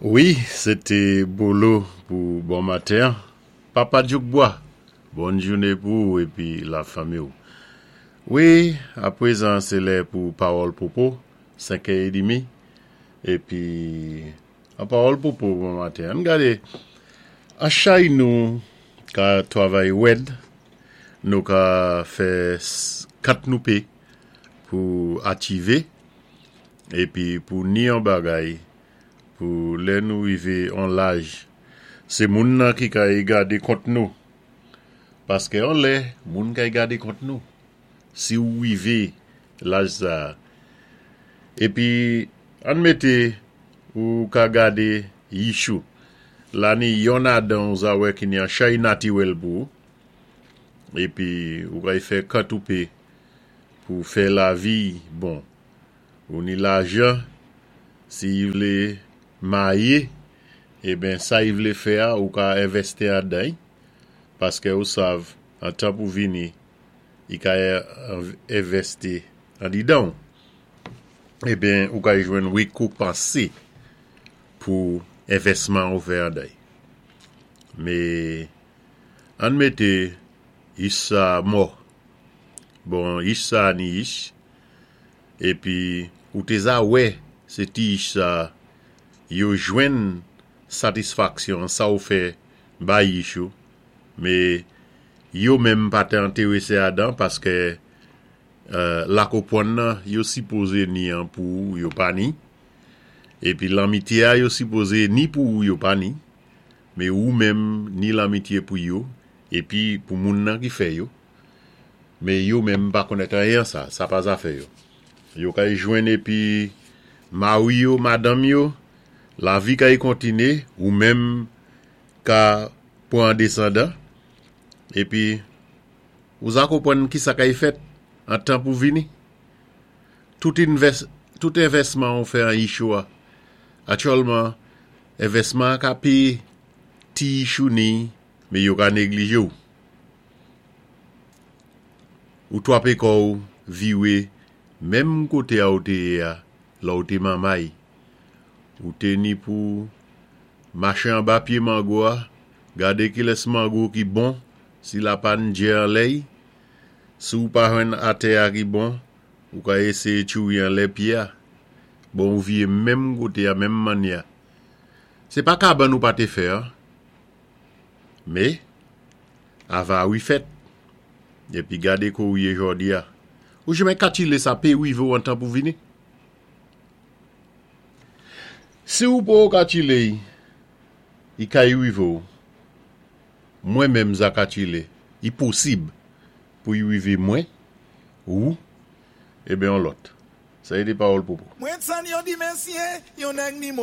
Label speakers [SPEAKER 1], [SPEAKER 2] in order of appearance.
[SPEAKER 1] Wi, sé té Bolo pou bon maten. Papa Djoukbois, bòn jouné pou ou épi lafanmi ou. Wi, apwézan sé lè pou Pawòl Popo, 5 è édmi. Épi, an Pawòl Popo bon maten. Ann gadé, an chay nou ka twavay wèd, nou ka fè kant nou pé pou achivé, épi pou ni yon bagay pou lè nou rivé on laj, sé moun nan ki kay gadé kont nou. Paské on lè, moun kay gadé kont nou. Si ou rivé laj sa. Épi, ann mété ou ka gadé yich ou. La ni yonn adan ou za wè ki ni an chay natiwèl pou ou. Épi, ou kay fè kant ou pé pou fè lavi bon. Ou ni lajan, si y vlé mayé, eben sa y vlé fè a ou ka envèsti adan y, paskè ou sav an tan pou vini y ka envèsti andidan w. Eben ou ka jwenn rekopansé pou envèsman ou fè andan y. Mé ann mété yich sa mò. Bon yich sa ni yich Epi ou té za wè sé ti yich sa yo jwenn satisfaksyon an sa ou fè bay yich ou, mé yo menm pa té entéwésé adan paskè lakopwann nan yo sipozé ni an pou ou yo pa ni, epi lanmityé a yo sipozé ni pou ou yo pa ni, mé ou menm ni lanmityé pou yo epi pou moun nan ki fè yo. Mé yo menm pa konnèt anyen an sa, sa pa zafè yo. Yo kay jwenn épi mari yo, madanm yo, lavi kay kontiné, ou menm ka pwan desandan, épi ou za konpwann kisa kay fèt an tan pou vini. Tout invès, tout envèsman ou fè an yich ou a, aktyèlman envèsman an ka péyé ti yich ou ni, mé yo ka néglijé ou. Ou twapé kò ou viwé menm koté a ou té yé a lè ou té manmay. Ou té ni pou maché anba pyé mango a, gadé kilès mango ki bon si la pa n djè anlè y. Si ou pa jwenn atè a ki bon, ou ka éséyé tchouri anlè pyé a. Bon ou viyé menm koté a, menm mannyè a. Sé pa kabann ou pa té fè an. Mé, avari fèt. Épi gadé kou ou yé jòdi a. Ou jenmen katchilé sa pé rivé ou an tan pou vini? Si ou poko katchilé y, i kay rivé ou. Mwen menm za katchilé, i posib pou y rivé mwen, ou, eben yon lòt. Sa é té Pawòl Popo.
[SPEAKER 2] Mwen tann yon di mèsyé, yon nèg ni mo.